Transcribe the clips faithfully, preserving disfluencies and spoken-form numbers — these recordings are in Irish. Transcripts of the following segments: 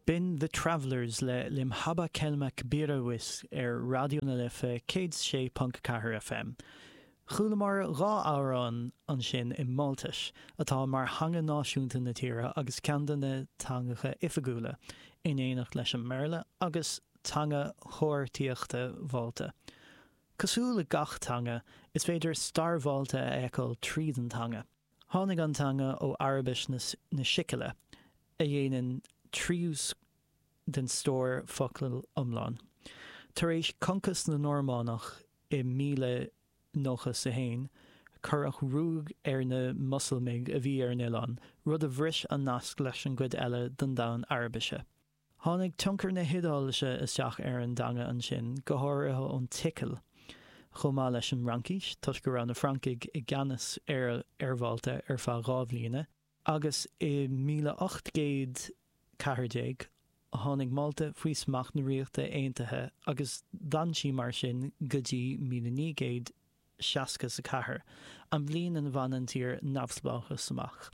B'in The Travellers le L-Imħabba Kelma Kbira Wisq ar Raidió na Life céad sé ponc ceathair FM. Chualamar dhá amhrán ansin i Máltais, atá mar theanga náisiúnta na tíre agus ceann de na teangacha oifigiúla, in éineacht leis an mBéarla agus teanga chomharthaíochta Mhálta. Cosúil le gach teanga, is féidir stair Mhálta a fheiceáil tríd an teanga. Tháinig an teanga ó Araibis na Sicile, a dhéanann triús den stór focal iomlán. Tar éis concas na Normannach i míle nócha is a haon, cuireadh ruaig ar na Moslamaigh a bhí ar an oileán, rud a bhris an nasc leis an gcuid eile den domhan Araibise. Tháinig tionchar na hIodáilise isteach ar an dteanga ansin, go háirithe ón tSicil, chomh maith leis an Fhraincis, toisc go raibh na Francaigh i gceannas ar ar Mhálta ar feadh dhá bhliana, agus i míle ocht gcéad ceathair déag, tháinig Málta faoi smacht na Ríochta Aontaithe agus d'fhan sí mar sin go dtí míle naoi gcéad seasca is a ceathair, an bhliain ina bhain an tír neamhspleáchas amach.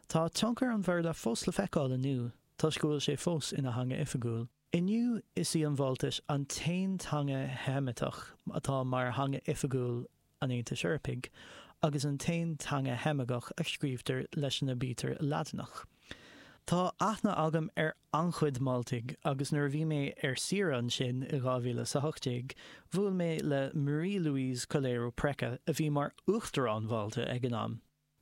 Tá tionchar an Bhéarla fós le feiceáil inniu, toisc go bhfuil sé fós ina theanga oifigiúil. Inniu is í an Mháltais an t-aon teanga Sheimiteach atá mar theanga oifigiúil an Aontais Eorpaigh agus an t-aon teanga Sheimigeach a scríobhtar leis an aibítir Laidineach. Tá aithne agam ar an-chuid Máltaigh agus nuair a bhí mé ar saoire ansin i dhá mhíle is a hocht déag, bhuail mé le Marie-Louise Coleiro Preca a bhí mar Uachtarán Mhálta ag an am.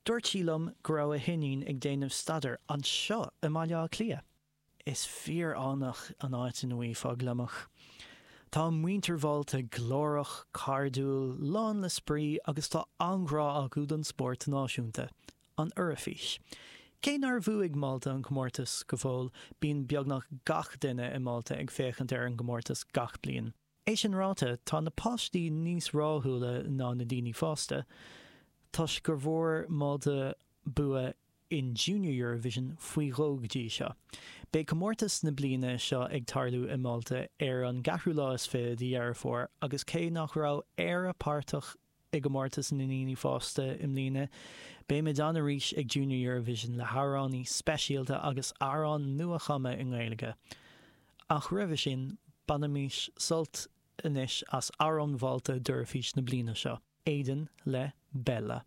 Dúirt sí liom go raibh a hiníon ag déanamh staidéir anseo i mBaile Átha Cliath. Is fíor-fhánach an áit ina bhfaighfeá gliomach. Tá muintir Mhálta glórach, cairdiúil, lán le spraoi agus tá an-ghrá acu don spórt náisiúnta, an Eoraifís. Cé nár bhuaigh Málta an comórtas go fóill, bíonn beagnach gach duine i Málta ag féachaint ar an gcomórtas gach bliain. É sin ráite, tá na páistí níos rathúla ná na daoine fásta, toisc gur bhfuair Málta bua in Junior Eurovision faoi dhó go dtí seo. Beidh comórtas na bliana seo ag tarlú i Málta ar an gceathrú lá is fiche de Dheireadh Fómhair agus cé nach raibh Éire páirteach i gcomórtas na ndaoine fásta i mbliana, beimid ann arís ag Junior Eurovision le hamhránaí speisialta agus amhrán nua-chumtha i nGaeilge. Ach roimhe sin, bainimis sult anois as amhrán Mhálta d'Eoraifís na bliana seo, Aidan le Bella.